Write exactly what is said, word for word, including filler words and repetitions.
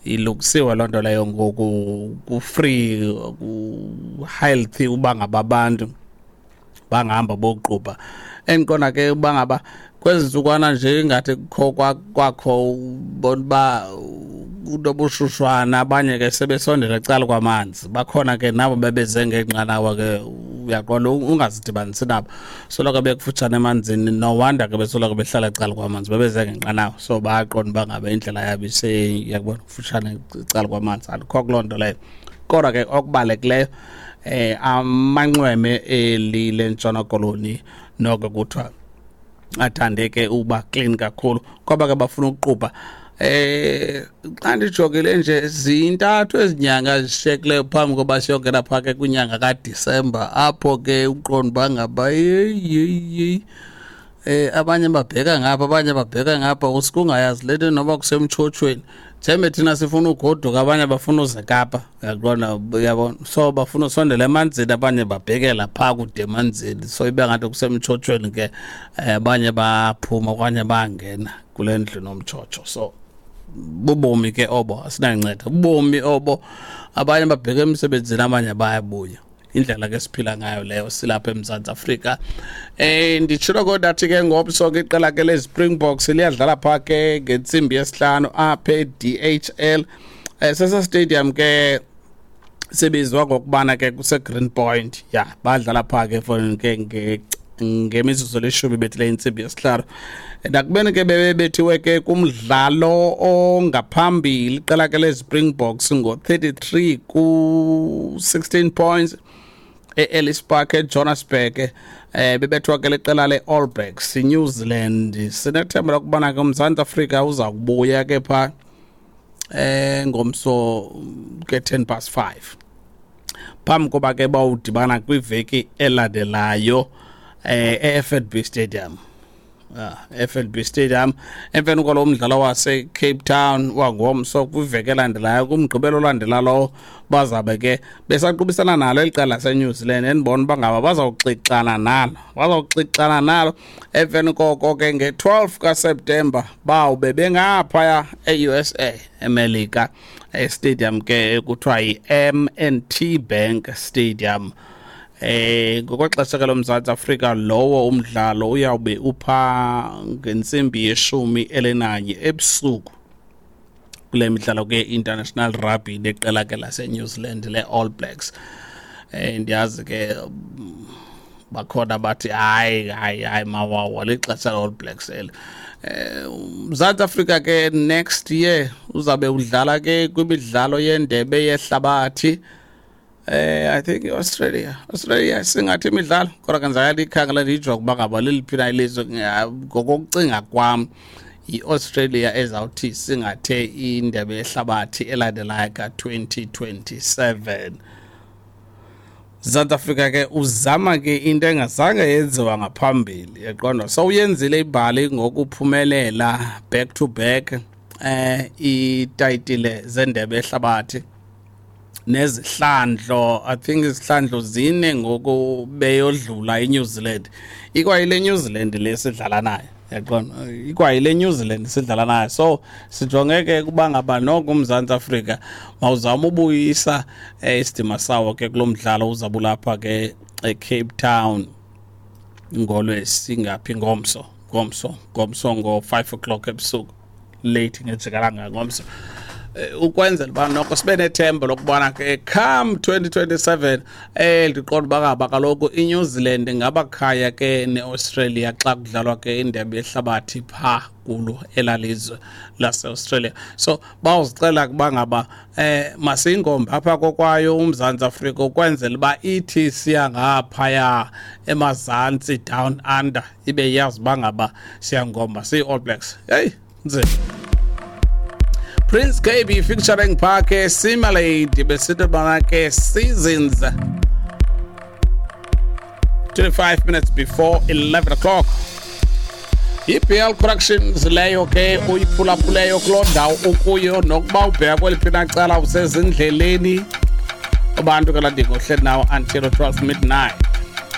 Ilungisiwe loo nto leyo ngoku, ku-free, ku-healthy uba ngaba abantu bangahamba boqubha. Endiqonda ke uba ngaba kwezi ntsukwana nje ingathi kukho kwakho ubona uba kunobushushwana, abanye ke sebesondela ecala kwamanzi, bakhona ke nabo bebeze ngeenqanawa ke, uyaqonda ungazidibanisi nabo, soloko bekufutshane emanzini. No wonder ke besoloko behlala ecala kwamanzi, bebeze ngenqanawa, so bayaqonda uba ngaba indlela yabo iyakubona kufutshane ecala kwamanzi. Andikho kuloo nto leyo, kodwa ke okubalulekileyo eh amanxweme eli leNtshona Koloni noko kuthiwa athande ke uba clean kakhulu, kwaba ke bafuna ukuqubha. Eh xa ndijongile nje zintathu ezinyanga zishiyekileyo phambi koba siyongena phaa ke kwinyanga kaDisemba, apho ke uqonda uba ngaba yeyi yeyi eh abanye babheka ngapha, abanye babheka ngapha, usuke ungayazi le nto noba kusemtshotshweni. Njembe thina sifuna ugoduka, abanye bafuna uze Kapa, uyaqonda, uyabona, so bafuna usondela emanzini, abanye babhekela phaa kude emanzini, so ibe ngathi kusemtshotshweni ke, abanye baphuma okanye bangena kule ndlu nomtshotsho. So bubomi ke obo, asinanceda, bubomi obo. Abanye babheka emsebenzini, abanye bayabuya. Indlela ke siphila ngayo leyo silapha eMzantsi Afrika. Eh nditshilo kodwa athi ke ngomso ke iqela ke leSpringboks liyadlala phaa ke ngentsimbi yesihlanu apha e-D H L. Eh sesa stadium ke sibizwa ngokubana ke kuse Green Point. Ya, badlala phaa ke for ke nge ngemizuzu elishumi bethile intsimbi yesihlanu. Nakubeni ke bebethiwe ke kumdlalo ongaphambili iqela ke leSpringboks ngo-thirty-three ku sixteen points e-Ellis Park eJohannesburg, eh bebethwa ke leqela le-All Blacks New Zealand. Sinethemba lokubana ke uMzantsi Afrika uza kubuya ke pha eh ngomso ke ten past five, phambi koba ke bawudibana kwiveki elandelayo eh e-F N B Stadium. Ah, F N B Stadium emveni kwalo mdlalo wase Cape Town wangomso kwiveki elandelayo kumgqibelo olandela lowo, bazabe ke besaqubisana nalo eliqela lase-New Zealand, endibona uba ngaba bazawuxixana nalo, bazawuxixana nalo. Emveni koko ke nge-twelve kaSeptemba bawube bengaphaya e-U S A eMelika, e-stadium ke ekuthiwa yi-M and T Bank Stadium. Eh ngokwexesha ke loMzantsi Afrika lowo umdlalo uyawube upha ngentsimbi yeshumi elinanye ebusuku kule midlalo ke International Rugby neqela ke lase New Zealand le All Blacks. Eh ndiyazi ke bakhona bathi hayi hayi hayi mawawa lixesha le All Blacks eli. Eh Mzantsi Afrika ke next year uzabe udlala ke kwimidlalo yendebe yehlabathi. Eh I think Australia Australia singathi imidlalo kodwa ke ndizaya likhangela ndijonge uba ngaba leliphi na ilizwe. Ngokokucinga kwam i-Australia ezawuthi singathe indebe yehlabathi elandelayo ka twenty twenty-seven. South Africa ke uzama ke into engazange yenziwa ngaphambili, yaqonda. So uyenzile ibhali ngokuphumelela back to back eh itayitile zendebe yehlabathi nezihlandlo. I think izihlandlo zine ngoku beyodlula iNew Zealand. Ikwayile New Zealand lesidlala nayo, yaqonda, ikwayile New Zealand sidlala nayo. So sijonge ke kuba ngaba noko uMzantsi Afrika mawuzama ubuyisa isidima sawo ke kulomdlalo uzabulapha ke eCape Town ngolwesingaphi ngomso ngomso ngomso ngo five o'clock ebusuku, late ngejikalanga ngomso, ukwenzela uba noko sibe nethemba lokubona ke come twenty twenty-seven eh ndiqonda uba ngaba kaloku iNew Zealand ngabakhaya ke neAustralia xa kudlalwa ke indebe yehlabathi pha kulo elalizwe laseAustralia. So bawuzicela kuba ngaba eh masingombe apha kokwayo uMzantsi Afrika ukwenzela uba ithi siya ngaphaya emazantsi down under ibe yazi uba ngaba siyangomba siyi-All Blacks. Hey nzima. Prince K B featuring Parke Simulate besithi bana ke Seasons, twenty-five minutes before eleven o'clock. I B L Corrections leyo ke uyiphulaphuleyo kuloo ndawo ukuyo nokuba ubheka kweliphi na cala usezindleleni. Abantu ke landingo uhleli nawo until twelve midnight.